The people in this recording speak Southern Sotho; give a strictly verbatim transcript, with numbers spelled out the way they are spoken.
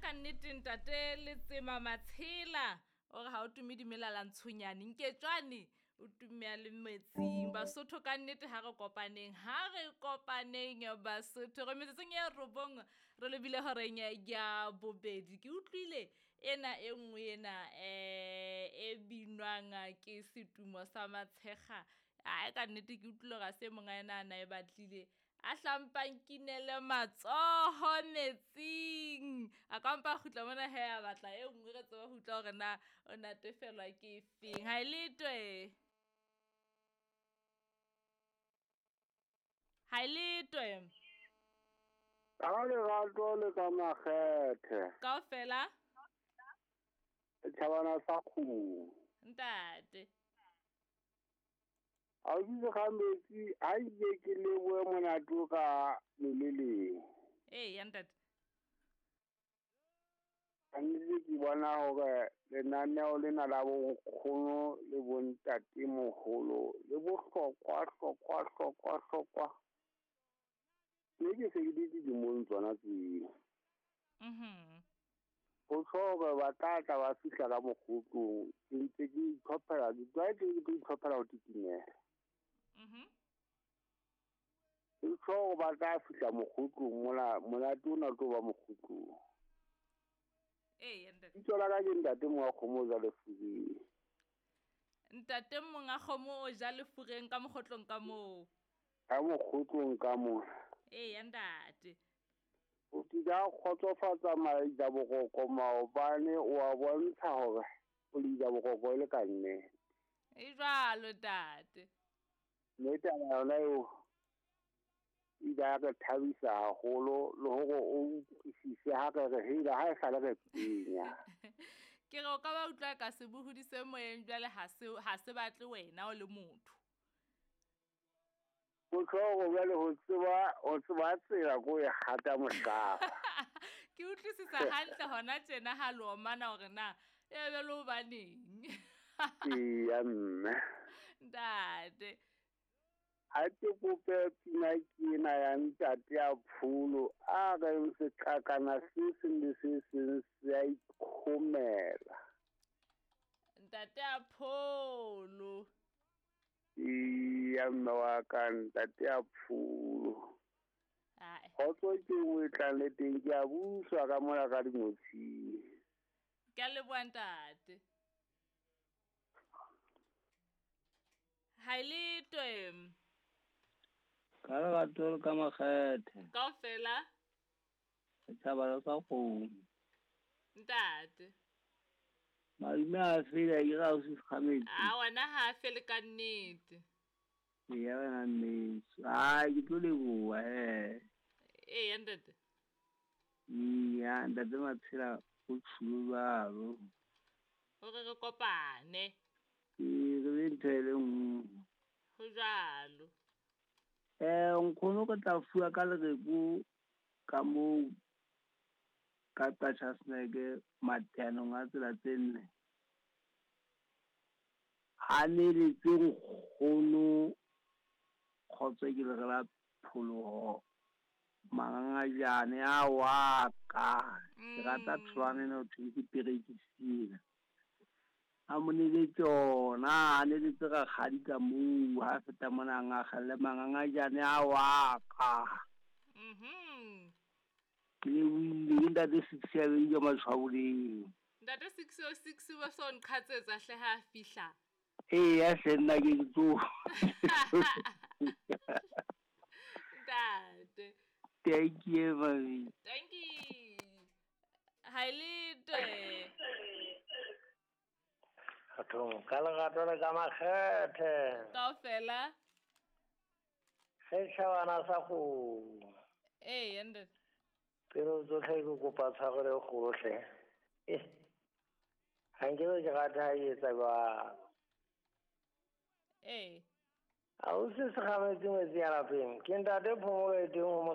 Ka nnete ntate Letsema Matshela o re ha o tume dimelala ntshonyane nketswane o tumea le metsing. Basotho ka nnete ha re kopaneng, ha re kopaneng Basotho. Re metsotsong e robong re lebile horeng ya bobedi. Ke utlwile ena e nngwe ena eh e binwang ke setumo sa Matshekga. Ai ka nnete ke utlwile hore ha se monga ena a na e batlile. A hlampang kinele matsoho metsing. A ka mpa a kgutla mona he a batla e nngwe re tsebe ho utlwa hore na o natefelwa ke efeng. Ha e letwe. Ha e letwe. Ka lerato le ka makgethe. Kaofela. Tjhabana sa kgomo. Ntate. A o bitse ga metsi a ile ke lebohe monate ka meleleng. Ee, ya ntate. Ka nnete ke bona hore lenaneo lena la bonkgono le bontatemoholo le bohlokwa hlokwa hlokwa hlokwa. Mme ke se ke le dilemong tsona tseo. Mhm. Ho tjho hore ba tla tla ba fihla ka mokgotlong, ke ntse ke itlhophela, ke tlwaetse ke itlhophela ho titimela. Mhm. Ke tjho hore ba tla fihla mokgotlong mola monate ona o tlo ba mokgotlong. Ee, ntate. Bitso la ka ke ntate monga kgomo o ja lefureng. Ntate monga kgomo o ja lefureng ka mokgotlong ka moo. Ka mokgotlong ka moo. Ee, ntate. O tlile kgotsofatsa maida boroko maobane o a bontsha hore o leida boroko e le ka nnete. E jwalo ntate. Mme taba yona eo e ile ya re thabisa haholo le hore o utlwisise ha re re hela ha e sale re penya. Ke re o ka ba utlwa ka sebohodi se moyeng jwale ha se ha se batle wena o le motho. Motho hore jwale ho tseba ho tseba tsela ko e hata mohlaba. Ke utlwisisa hantle hona tjena ha lo omana hore na e be le hobaneng. Eya mme. Ntate. Ha ke kope pina ke ena ya ntate ya Pholo a reng seqakana se seng le se seng se a ikhomela. Ntate ya Pholo. Eya mme wa ka ntate ya Pholo. Ai. Kgotso ke nngwe e tlang le teng ke a buswa ka mona ka dinotshing. Ke a leboha ntate. Ha e letwe. Ka lerato le ka makgethe. Kaofela. Setjhaba sa kgomo. Ntate. Madume a fele ke ra o se kgametsi. A wena ha a fele ka nnete. Eya wena mmetso. Ai ke tlo leboha he. Ee ntate. Eya ntate Matshela o tsholo jwalo. Hore re kopane. Ee re be ntho e le nngwe. Ho jwalo. Eh nkgono ke tla fuwa ka lereko ka moo ka Qachaseneke mateanong a tsela tse nne. Ha neletse nkgono kgotso ke lere la pholoho mangangajane a wa ka. Ke rata tholwana ena ho thweng ke perekisi ena. A mo neletse ona, a neletse rakgadi ka moo ha feta mona a ngakgelle mangangajane a wa ka. Mhm. Ke lebohile ke ntate six ya beng ke Matshwaboleng. Ntate six oh six ba so nqhatsetsa hle ha a fihla. Eya hle nna ke tlo. Ntate. Thank you mami. Thank you. Ha e letwe. Bathong ka lerato le ka makgethe. Kaofela. Setjhabana sa kgomo. Ee, ntate. Pelo tsotlhe ke kopa tshwarelo e kgolo hle. Eh. Ha nkebe ke rata ha e etsa jwalo. Ee. Ha o se se kgametse ngwetsi ya lapeng. Ke ntate Phomolo e teng ho